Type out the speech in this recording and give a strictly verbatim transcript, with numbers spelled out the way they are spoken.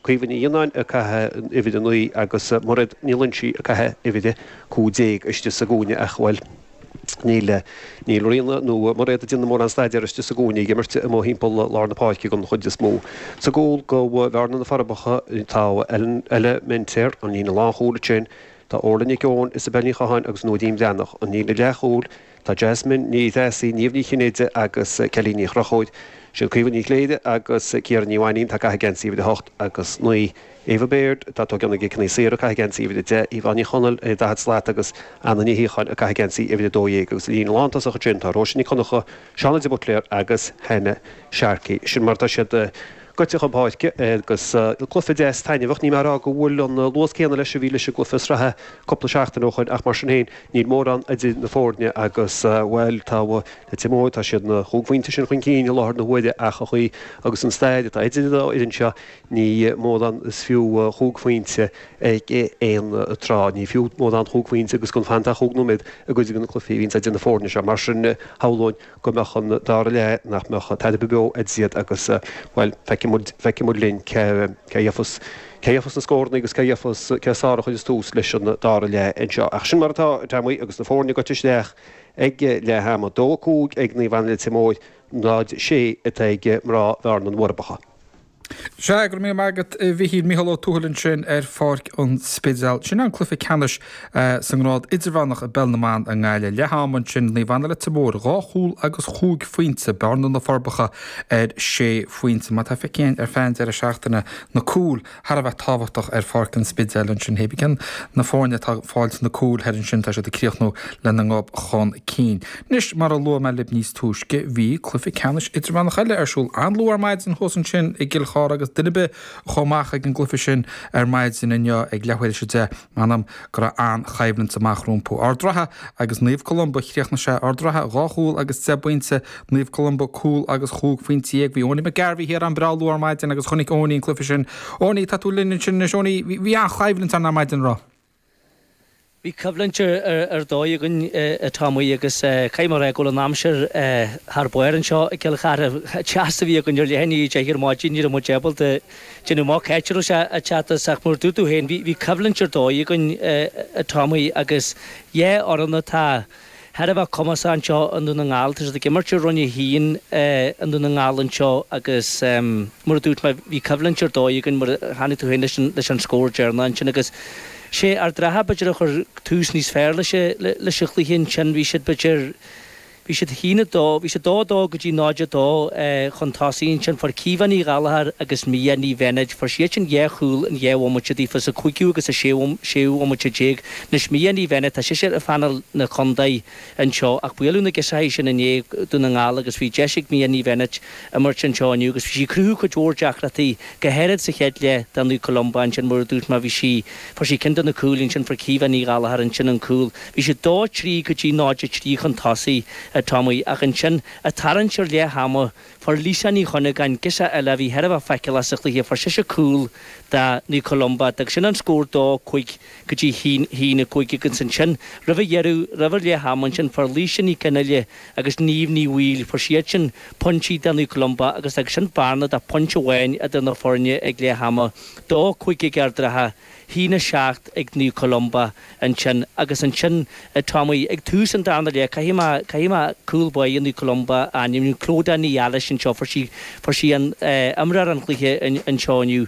Caoimhe Ní Fhionnáin ag caitheamh uimhir a naoi agus Mairéad Ní Loinsigh ag caitheamh uimhir a cúig déag istigh sa gcúinne ach, bhuel, níl níl Ríona nó Mairéad ag déanamh mórán staidéir istigh sa gcúinne, ag imirt amuigh thimpeall lár na páirce den chuid is mó. Sa gcúl do Bhearna na Forbacha tá Ella Minter, an líne lánchúil ansin, tá Orla Nic Eoin, Isabel Ní Chatháin agus Nóidín Breathnach, an líne leathchúil, tá Jasmine Ní Threasaigh, Niamh Ní Chinnéide agus Kelly Ní Chonchúir. Sin Caoimhe Ní Chléire agus Ciara Ní Mhainín atá ag caitheamh geansaí uimhir a hocht agus naoi. Eva Baird atá ag tógáil na gciceanna saora ag caitheamh geansaí uimhir a deich, Yvonne Ní Chonaill ar daichead slat agus Anna Ní Shíocháin ag caitheamh geansaí uimhir a dó dhéag agus líne lántosach ansin tá Róise Nic Dhonncha, Shauna de Buitléar agus Hannah Sharkey. Sin mar atá siad gaibhte chun páirce agus cluiche deas taitneamhach. Níl mé ag rá go bhfuil an luas céanna leis a bhí leis an gcluiche sraithe cúpla seachtain ó shoin ach mar sin féin níl mórán idir na foirne agus bhuel tá Leitir Móir, tá siad na chúig phointe sin chun cinn i láthair na huaire ach an chaoi agus an staid atá idir an dá fhoireann seo ní mórán is fiú chúig phointe ag aon tráth. Ní fiú mórán chúig phointe agus gan fanta ach chúig nóiméad i gcuid de na cluichí a bhíonns idir na foirne seo. Mar sin shamhlóinn go mbeadh an dara leath, nach mbeadh tada beo idir iad agus, bhuel, feicfidh muid, feicfidh muid linn cé, cé a gheofas, cé a gheofas na scóranna agus cé a gheofas, cé is fearr a chuirfeas tús leis an dara leath anseo. Ach sin mar atá, a Tommy, agus na foirne gaibhte isteach ag leath ama. Dó a cúig ag Naomh Anna Leitir Móir, náid sé atá ag mná Bhearna na bhForbacha. Sea, go raibh míle maith agat, a Mhichíl. Micheál Ó Tuathail ansin ar Pháirc an Spidéil. Sin an cluiche ceannais sa ngrád idirmheánach i bPeil na mBan i nGaillimh. Leath ama ansin, Naomh Anna Leitir Móir, dhá chúl agus chúig phointe, Bearna na Forbacha ar sé phointe. Mar atá feicthe againn ar feadh an deireadh seachtaine, na cúil thar a bheith tábhachtach ar Pháirc an Spidéil ansin. Hé bí cén na foirne atá ag fáilt na cúil thoir ansin, tá siad ag críochnú lena ngob chun cinn. Anois, mar a luaigh mé libh níos túisce, bhí cluiche ceannais idirmheánach eile ar siúl an-luath ar maidin thuas ansin i gCill Chartha agus duine ar bith a chuaigh amach ag an gcluiche sin ar maidin inniu ag leathuair tar éis a deich, m'anam go raibh an-choimhlint amach rompu. Ard Ratha agus Naomh Columba, chríochnaigh sé Ard Ratha dhá chúl agus deich bpointe, Naomh Columba cúl agus chúig phointe dhéag. Bhí Owenie McGarvey thiar an-bhreá luath ar maidin agus chonaic Owenie an cluiche sin. Owenie, tá tú linn ansin anois. Owenie, bhí an-choimhlint ann ar maidin, an raibh? Bhí coimhlint ar dóigh againn a Tommy agus caithfidh mé a rá go bhfuil an aimsir thar barr anseo i gCill Chartha. Teas a bhí againn ar leath i ndiaidh a deich ar maidin, ní raibh muid ábalta déanamh amach cá háit a raibh sé ag teacht as ach mar a dúirt tú féin bhí coimhlint ar dóigh againn a Tommy agus dhá fhoireann atá thar a bheith cumasach anseo i nDún na nGall. Tá siad ag imirt i Roinn a hAon i nDún na nGall anseo agus mar a dúirt mé, bhí coimhlint ar dóigh againn mar a chonaic tú féin leis an scór deireanach ansin agus sé Ard Ratha b'fhéidir a chuir tús níos fearr leis an chluiche ansin. Bhí siad b'fhéidir, bhí siad a haon a dó, bhí siad dó a dó go dtí náid a dó chun tosaigh ansin. Fuair Caoimhe Ní Ghallchóir agus Mia Ní Bheinéid, fuair siad sin dhá chúl in dhá bhomaite daofa sa cúigiú agus sa séú bhomaite déag. Anois Mia Ní Bheinéid, tá sise ar phainéal na contae anseo ach buaileadh na girseachaí sin inné, Dún na nGall, agus bhí deis ag Mia Ní Bheinéid imirt anseo inniu agus bhí sí ag cruthú cuid mhór deacrachtaí, go háirid sa chéad leath do Naomh Columba ansin mar a dúirt mé bhí sí, fuair sí ceann de na cúil ansin, fuair Caoimhe Ní Ghallchóir ansin an cúl. Bhí siad dó a trí go dtí náid a trí chun tosaigh a Tommy ach ansin ag tarraingt ar leath ama fuair Lisa Ní Chuinneagáin, girseach eile a bhí thar a bheith feiceálach sa chluiche, fuair sise cúl do Naomh Columba agus sin an scór dó cúig go dtí haon haon a cúig agus ansin roimh a dheireadh, roimh an leath ama ansin fuair Laoise Ní Chionnaile agus Niamh Ní Bhaoill, fuair siad sin pointí do Naomh Columba agus agus sin bearna de phointe amháin idir na foirne ag leath ama, dó cúig ag Ard Ratha. haon a seacht ag Naomh Columba ansin agus ansin Tommy ag tús an darna leath caithfidh mé caithfidh mé cúl báire Naomh Columba a ainmniú Clodagh Ní Ealais anseo fuair sí fuair sí an imreoir an chluiche anseo inniu.